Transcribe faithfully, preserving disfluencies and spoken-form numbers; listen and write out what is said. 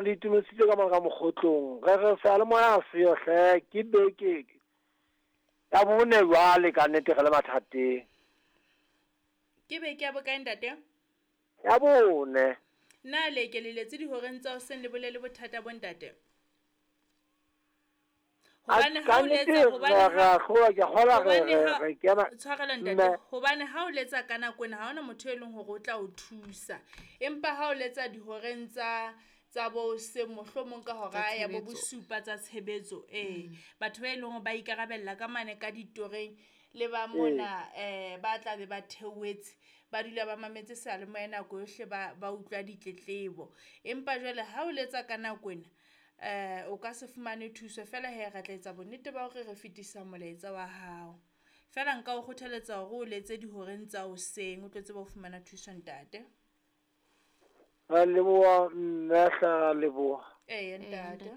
Le itumedisitse ka mona ka mokgotlong. Re re seyalemoya ha seyo hle, ke beke ya bone jwale ka nnete re le mathateng. Ke beke ya bokae ntate? Ya bone. Na le ke le letse dihoreng tsa hoseng le bolele bothata bo ntate? Hobane ha o letsa hobane ha ke kgola re re kena tshwarelo ntate, hobane ha o letsa ka nako ena ha hona motho e leng hore o tla o thusa, empa ha o letsa dihoreng tsa tsa bo hoseng mohlomong ka hora ya bo bosupa tsa tshebetso, ee batho ba e leng hore ba ikarabella ka mane ka ditoreng le ba mona eh ba tla be ba theohetse ba dula ba mametse seyalemoya nako yohle, ba ba utlwa ditletlebo. Empa jwale ha o letsa ka nako ena eh o ka se fumane thuso fela he, re tla etsa bonnete ba hore re fetisa molaetsa wa hao. Fela nka o kgothaletsa hore o letse dihoreng tsa hoseng o tlo tseba ho fumana thuso ntate. Ra leboha mme hle, ra leboha. Eya ntate.